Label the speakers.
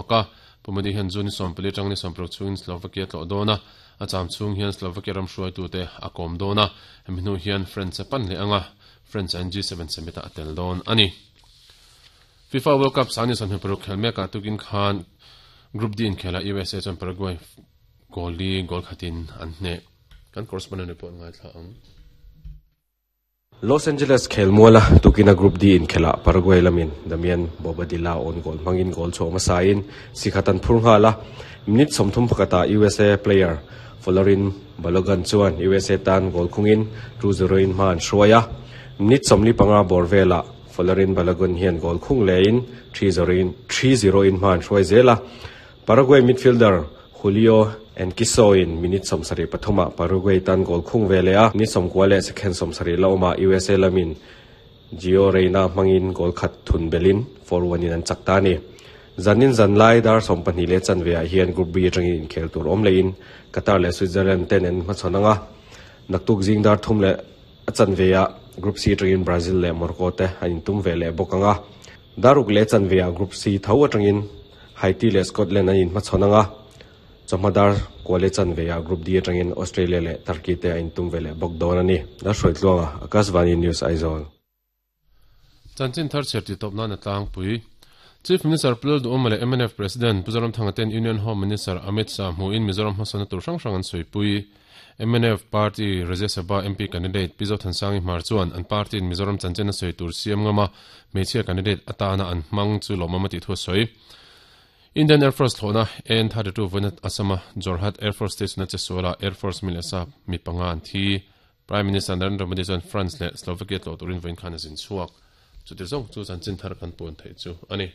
Speaker 1: chhuak a. Pu Modi hian June ni 14 atang ni 16 chhungin Slovakia tlawh dawn a, a cham chhung hian Slovakia ram hruaitute a kawm dawn a, hemi hnu hian France a pan leh ang a, France an G7 summit ah a tel dawn a ni. FIFA World Cup sang ni 26 khel mekah tukin khan Group D inkhelah USA chuan Paraguay goal li goal khatin an hneh. Kan correspondent report ngaithla ang.
Speaker 2: Los Angeles khelmuala tukina Group D inkhelah Paraguay lamin Damian Bobadilla awn goal hmangin goal chhuah hmasain si khat an phur nghal a. Minute 30 pakhatah USA player Folarin Balogun chuan USA tan goal khungin 2-0 in hma an hruai a. Minute 45 bawr velah Folarin Balogun hian goal khung lehin 3-0 in 3-0 in hma an hruai zel a. Paraguay midfielder Julio Enciso in minute 73 ah Paraguay tan goal khung ve leh a, minute 90 leh second 70 la awmah USA lamin Gio Reyna hmangin goal khat thun belin 4-1 in an chak ta a ni. Zanin zan lai dar 12 leh chanve ah hian Group B atangin inkhel tur awm lehin Qatar leh Switzerland ten an hmachhawn ang a, naktuk zing dar 3 leh a chanve ah Group C atangin Brazil leh Morocco te an intum ve leh bawk ang a. Dar 6 leh chanve ah Group C tho atangin Haiti leh Scotland an inhmachhawn ang a, chawhma dar 9 leh chanve ah Group D atangin Australia leh Turkey te a intum ve leh bawk dawn a ni. Lalhruaitluanga, Akashvani News Aizawl.
Speaker 1: Chanchin thar chhiar tih tawp nan a tlangpui. Chief Minister Pu Lalduhawma leh mnf President Pu Zoramthanga ten Union Home Minister Amit Shah hmuhin Mizoram hmasawnna tur hrang hrang an sawipui. Mnf Party Rajya Sabha MP candidate Pi Zothansangi Hmar chuan an party in Mizoram chanchin a sawi tur siam ngam a, hmeichhia candidate atana an hmang chu lawmawm a tih thu a sawi. Indian Air Force thlawhna AN-32 vawiin Assam-a Jorhat Air Force Station a che sualah Air Force mi leh sa mi panga an thi. Prime Minister Narendra Modi chuan France leh Slovakia tlawh turin vawiin khan a zin chhuak. Chuti zawng chu chanchin thar kan puan theih chu a ni.